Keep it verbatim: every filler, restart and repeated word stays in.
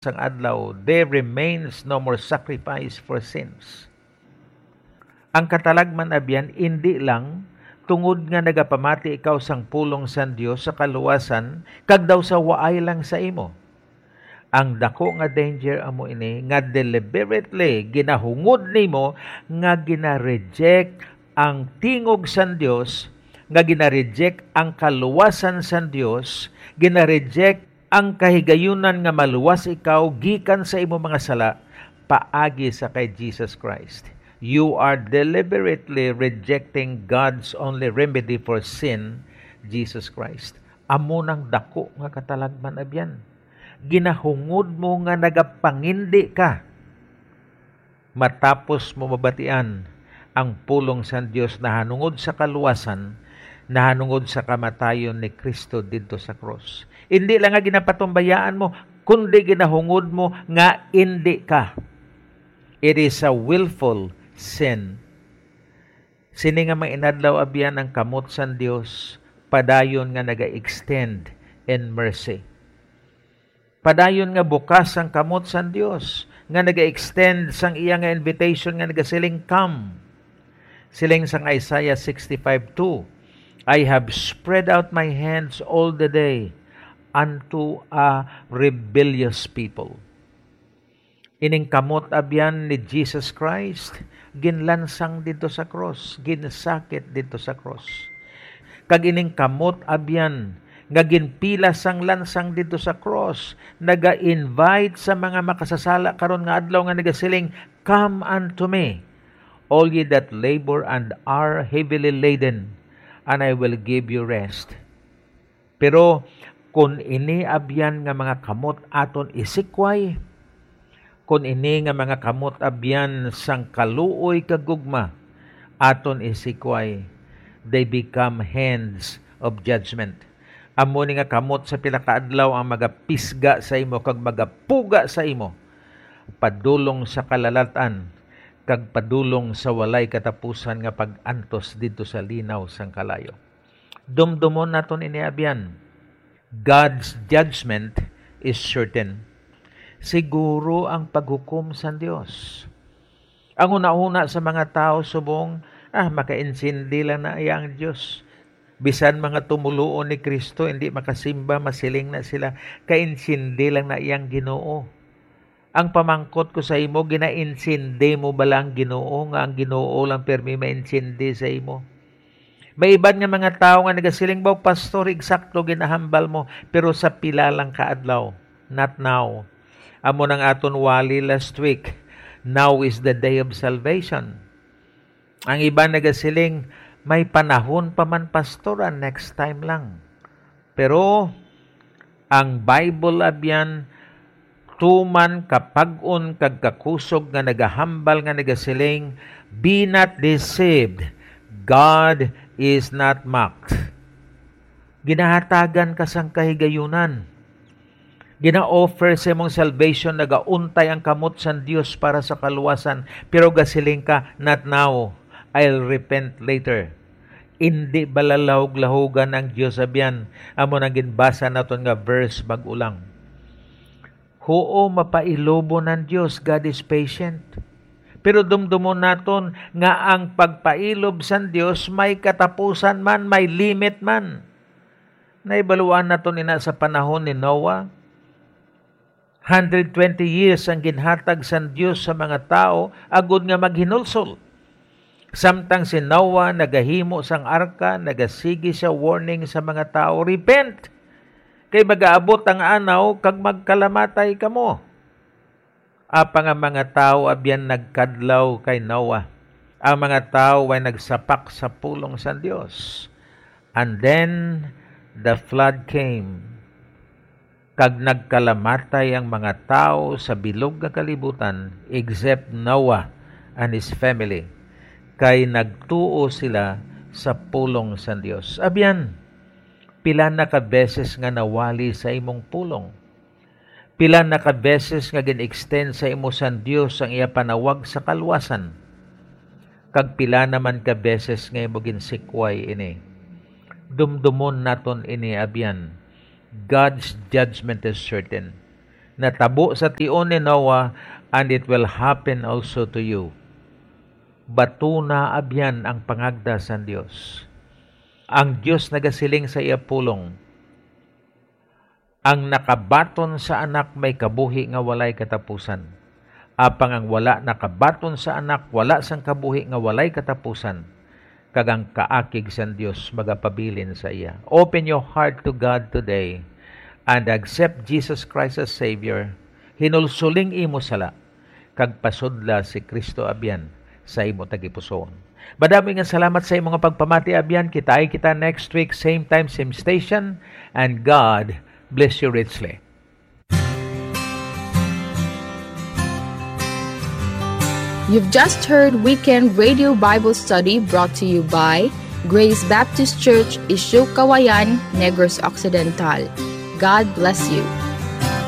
sang adlaw, there remains no more sacrifice for sins. Ang katalagman abyan, indi lang tungod nga nagapamati ikaw sang pulong sang Dios sa kaluwasan, kag daw sa waay lang sa imo. Ang dako nga danger amo ini nga deliberately ginahungod nimo nga gina-reject ang tingog sang Dios, nga gina-reject ang kaluwasan sang Dios, gina-reject ang kahigayunan nga maluwas ikaw gikan sa imo mga sala paagi sa kay Jesus Christ. You are deliberately rejecting God's only remedy for sin, Jesus Christ. Amo nang dako nga katalagman abyan. Ginahungod mo nga nagapangindi ka. Matapos mo mabatian ang pulong sang Dios nahanungod sa kaluwasan, nahanungod sa kamatayon ni Cristo didto sa krus. Indi lang nga ginapatumbayaan mo, kundi ginahungod mo nga indi ka. It is a willful sin. Sini nga mga inadlaw, abyan, ang kamot sang Dios padayon nga naga-extend in mercy. Padayon nga bukas ang kamot sang Dios nga naga-extend sang iya nga invitation nga nagasiling, "Come." Siling sang Isaiah sixty-five two, "I have spread out my hands all the day unto a rebellious people." Ining kamot abyan ni Jesus Christ ginlansang didto sa krus, ginsakit didto sa krus. Kag ining kamot abyan nga ginpila sang lansang didto sa krus, naga-invite sa mga makasasala karon nga adlaw nga nagasiling, "Come unto me, all ye that labor and are heavily laden, and I will give you rest." Pero kon ini abyan nga mga kamot aton isikway, kon ini nga mga kamot abyan sang kaluoy kag gugma aton isikway, they become hands of judgment. Amo ni nga kamot sa pila ka adlaw ang magapisga sa imo kag magapuga sa imo padulong sa kalalat-an kag padulong sa walay katapusan nga pag-antos didto sa linaw sang kalayo. Dumdumon naton ini, abyan. God's judgment is certain. Siguro ang paghukom sang Dios. Ang hunahuna sa mga tawo subong, "Ah, makaintindi lang na iya ang Dios." Bisan mga tumoluo ni Cristo, hindi makasimba, masiling na sila, "Kaintindi lang na iya ang Ginoo." Ang pamangkot ko sa imo, ginaintindi mo bala ang Ginoo, nga ang Ginoo lang pirmi maintindi sa imo? May iban nga mga tawo nga nagasiling, "Baw, Pastor, eksakto ginahambal mo, pero sa pila lang ka adlaw." Not now. Amo nang aton wali last week. Now is the day of salvation. Ang iban nagasiling, "May panahon pa man, Pastor, ah, next time lang." Pero ang Bible, abyan, tuman kapag-on kag kakusog nga nagahambal nga nagasiling, "Be not deceived, God is not mocked." Ginahatagan ka sang kahigayunan. Gina-offer sa imong salvation, nagauntay ang kamot sang Dios para sa kaluwasan, pero gasiling ka, "Not now, I'll repent later." Indi bala lahog-lahogan ang Dios, abyan? Amo nang ginbasa naton nga verse bag-o lang. Huo, mapailubon ang Dios, God is patient. Pero dumdumon naton nga ang pagpailob sang Dios may katapusan man, may limit man. Nahibaluan naton ina sa panahon ni Noah. Hundred twenty years ang ginhatag sang Dios sa mga tawo agod nga maghinulsol. Samtang si Noah nagahimo sang arka, nagasigi siya warning sa mga tawo, "Repent, kay magaabot ang anaw kag magkalamatay kamo." Apang ang mga tawo abyan nagkadlaw kay Noah. Ang mga tawo way nagsapak sa pulong sang Dios. And then the flood came. Kag nagkalamatay ang mga tawo sa bilog nga kalibutan, except Noah and his family, kay nagtuo sila sa pulong sang Dios. Abyan, pila na ka beses nga nawali sa imong pulong? Pila na ka beses nga gin-extend sa imo sang Dios ang iya panawag sa kaluwasan? Kag pila naman ka beses nga imo ginsikway ini? Dumdumon naton ini, abyan. God's judgment is certain. natabo sa tion ni Noah, and it will happen also to you. Batuna abyan ang pangagda sang Dios. Ang Dios nagasiling sa iya pulong, "Ang nakabaton sa Anak may kabuhi nga walay katapusan. Apang ang wala nakabaton sa Anak wala sang kabuhi nga walay katapusan, kag ang kaakig sang Dios magapabilin sa iya." Open your heart to God today and accept Jesus Christ as Savior. Hinulsoli ang imo sala kag pasudla si Cristo abyan sa imo tagipusoon. Madamo nga salamat sa imo nga pagpamati abyan. Kitai kita next week, same time, same station. And God bless you richly. You've just heard Weekend Radio Bible Study brought to you by Grace Baptist Church, Isyo Kawayan, Negros Occidental. God bless you.